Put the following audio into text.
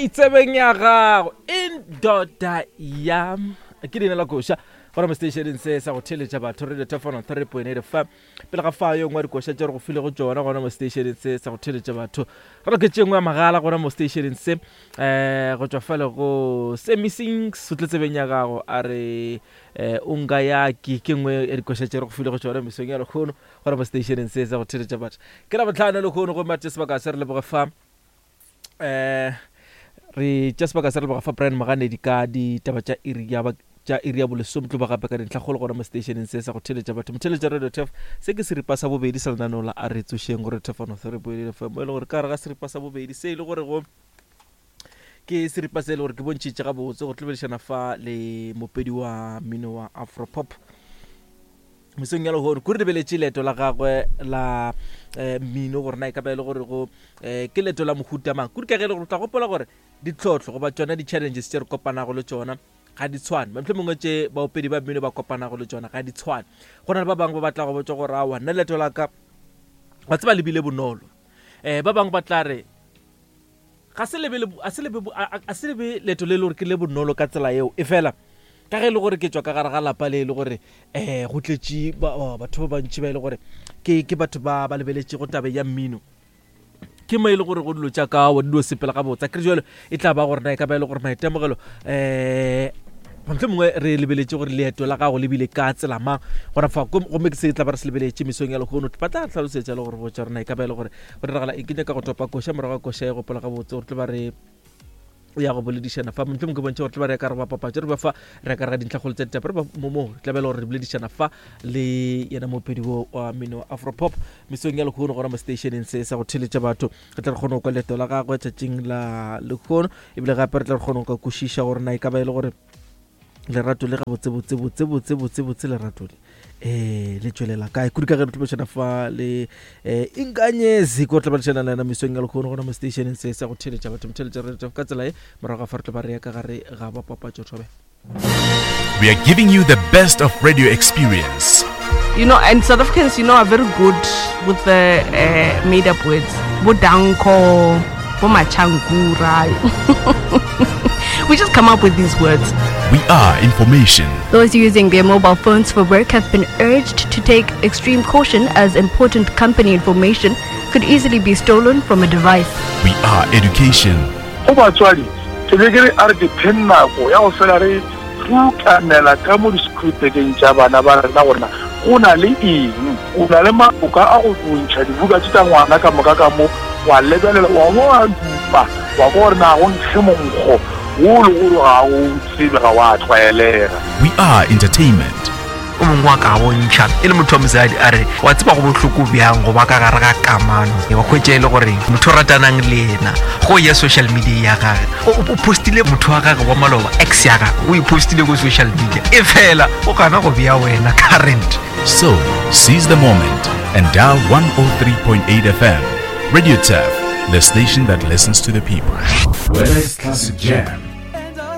Hey, tsebeng ya gago indoda yam ke leina la koša gona mo stationeng se sa go theeletša batho radio tefano 3.8 fm pele ga fa yo nngwe dikoša tše re go filego tšona gona mo stationeng se sa go theeletša batho re loketše nngwe ya magala gona mo stationeng se um go tšwa fale go semisings o tle tsebeng ya gago a re um o nka yaki ke nngwe ya dikoša tše re go filego tšona mesong ya lekgono gona mo stationeng se sa go theeletša batho ke labotlhano lekgono gomme a tše sebaka se re leboge fa um re tša sebaka se re leboga fa Brian Moganedi ka ditaba tša iri ya ba tša iri ya bolesome tlo ba gape ka dintlhakgolo gona mo stationeng se sa go theletša batho motheletša radio tef se ke seripa sa bobedi sa lenaneo la a re tsošeng gore tefano mo e le gore ka gare ga seripa sa bobedi se e le gore go ke seripa se e le gore ke bontšhitše gabotse go tlobedišana fa le mopedi wa mmino wa afropop mesong ya lehono kore lebeletše leeto la gagwe la eh, mmino gore na e ka ba e le gore go eh, ke leeto la mohuta mang kudu ka ge e le gore o tla gopola gore ditlhohlo goba tšona di-challenges tše re kopanago le tšona ga di tshwane mohlho mongwe tše baopedi ba mmino ba kopanago le tšona ga di tshwane go na le ba bangwe ba batla go botsa gore aowa nna leeto la ka wa tseba le bile bonolo um ba bangwe ba tla re Ga se lebe, a se lebe, a se lebe leeto le e le gore ke le bonolo ka tsela yeo, efela ka ge e le gore ke tšwa ka gare ga lapa le e le gore um go tletše batho ba bantši ba e le gore ke ke batho ba ba lebeletšego tabe ya mmino ke mo e le gore go dilo tša ka wa dilo sepela gabotse a kere jalo e tla ba gore na e ka ba e le gore maitemogelo um motlho mongwe re lebeletše gore leeto la gago le bile ka tsela mang gona fa gomme ke se tla ba re se lebeletše mesong ya lehono ba tla tlhalosetša le gore botša rena e ka ba e le gore go diragala eng ke nyaka go topa koša morago ga koša e gopola gabotse gore tlo ba re ya go boledišana fa mohlomong ke bontšha gore tlo ba re ka re ba papatso re ba fa re ka re ga dintlhakgolo tsa ditaba re ba mo mo tla bela gore re boledišana fa le yena mopedi wo wa mmino wa afropop mesong ya lehono gona mo stationeng se sa go theletša batho re tla re kgone go kwa leeto la gagwe tšatšing la lehono ebile gape re tla re kgone go ka kwešiša gore na e ka ba e le gore lerato le gabotse botse botse botse botse botse lerato le eh le tšwelela kae kudu ka ge re tlobešana fa le eh inkanyezi ko tlobešana le yena mesong ya lekgono gona mo stationeng se sa go theletša batho motheletša re ka tsela e morago ga fa re tlo ba re ya ka gare ga bapapatšo thobe We are giving you the best of radio experience. You know, and South Africans, you know, are very good with the uh, made up words. Bodanko, Bomachankura. we just come up with these words. We are information. Those using their mobile phones for work have been urged to take extreme caution as important company information could easily be stolen from a device. We are education. Go batswadi, ke be ke re a re ke pheng nako ya go fela re rukanela ka mo di-school-bekeng tša bana ba rena gore na go na le eng. O na le maloka a go ntšha dibuka tše tša ngwana ka moka ka mo, wa lebelela, wa bo wa dupa, wa kwa gore na go nkge monkgo wo le gore ga o tsebe, ga wa tlwaelega. We are entertainment. O mongwe wa ka bontšha e le motho wa mosadi a re wa tseba go bohloko bjang go ba ka gare ga kamano wa hwetša e le gore motho o ratanang le yena go ya social media ya gage o postile motho wa gage wa maloba ex ya gage o e postile ko social media e fela o gana go bea wena current. So, seize the moment and dial 103.8 FM. Radio Turf, the station that listens to the people. Whether it's classic jam,